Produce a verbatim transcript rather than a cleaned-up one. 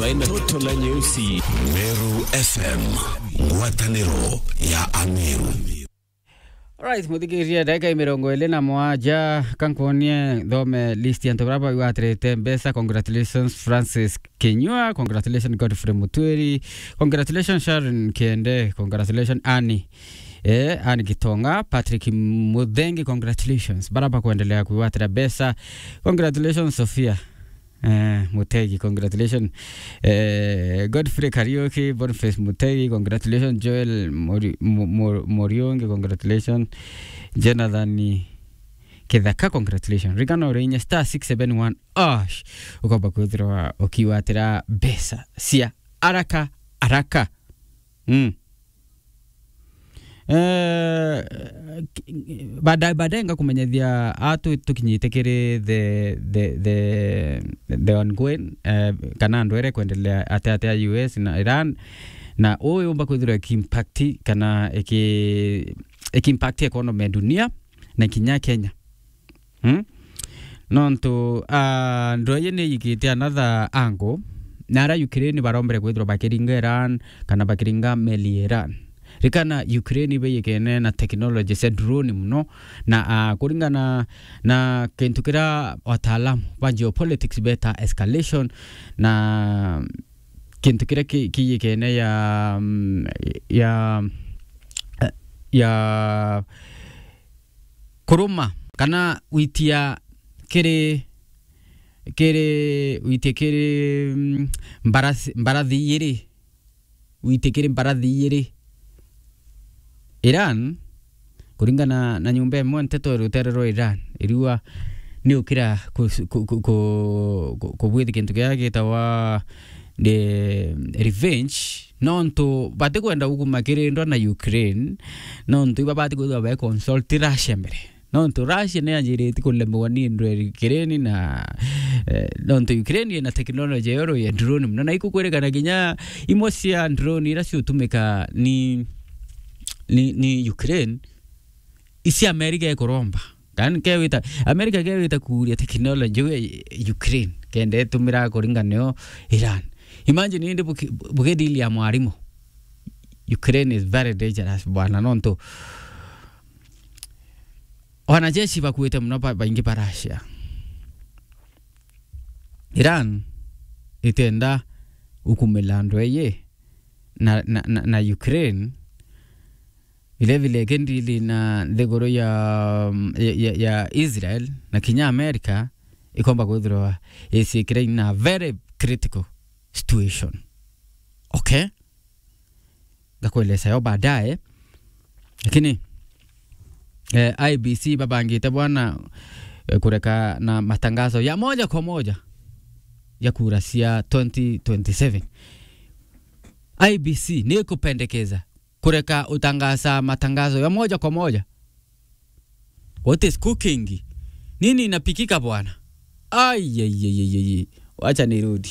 Ena toto la nyeusi. Meru F M, ngwataniro ya Ameru. Alright, muthikiria, ndagika i mirongo iri na mugwanja, kankuonie nthome list ya antu baria bagwatirite mbeca. Congratulations Francis Kinyua, congratulations Godfrey Mutwiri, congratulations Sharon Kiende, congratulations Annie, eh, Annie Gitonga, Patrick Muthengi, congratulations. Baria bakwendelea kwigwatira mbeca, congratulations Sofia. Eh, Mutegi, congratulations. Eh, Godfrey Kariuki, Boniface Mutegi, congratulations. Joel Mori-, Mo-, Mo-, Moriungi, congratulations. Jonathan Kithaka, congratulations. Ririkana uri inya star six seven one ash, ukomba kwithirwa ukiwatira mbeca cia araka araka. Mm. Eh, ki-, baadaye, baadaye ngakumenyethia a tu-, tukinyite kiri the, the, the, the ongoing, eh, kana andu ere kwendelea atia atia U S na Iran, na uu yumba kwithirwa ikiimpact kana iki-, ikiimpact economy ya dunia na kinya Kenya. Hmm? Nontu, ah, ndweye ni yikite another angle, na ara Ukraine barombere kwithirwa bakiringa Iran, kana bakiringa meli ya Iran. Rikana Ukraine ibe yikene na technology cia drone muno, na, ah, kuringana na kintu kiria wataalamu ba geopolitics beta escalation, na kintu kiria ki-, kiyikene ya, mm, ya, ya kuruma kana witia kiri, kiri, witia kiri, mm, mbarathi, mbarathi ijiri, witia kiri mbarathi ijiri. Iran, kuringana na nyumba imwe nteto rutere rwa Iran, iriua ni ukira ku-, ku-, ku-, ku-, ku-, kubwithi kintu kiria gitagwa the revenge, nontu batikwenda gukuma kirindwa na Ukraine, nontu iba batikwithirwa be consult Russia mbere. Nontu Russia ni yanjirite kulemewa ni ndweri Ukraine na, eh, nontu Ukraine ina technology yoro ya drone muno, na ikukwirikana kinya imwe cia drone iria ciutumika ni, ni, ni Ukraine, isi America ikuromba. Kan kewita, America kewita kuuria technology we Ukraine, kenda itumira kuringa nio Iran. Imagine indi buki-, buki deal ya mwarimu. Ukraine is very dangerous, bwana, nontu wanajeshi bakuite muno ba-, baingi ba Russia. Iran itenda ukumila andu eye na, na, na, na Ukraine, vile vile ikindili na nthiguru ya, ya, ya, ya Israel na kinya America, ikomba kwithirwa iciikire in a very critical situation. Okay? Ngakueleza yo baadaye. Lakini, eh, I B C babangite bwana, eh, kureka na matangazo ya moja kwa moja ya kura cia twenty twenty-seven. I B C ni ikupendekeza kureka utangaza matangazo ya moja kwa moja. What is cooking? Nini inapikika bwana? Ai, ai, ai, ai, ai. Wacha nirudi.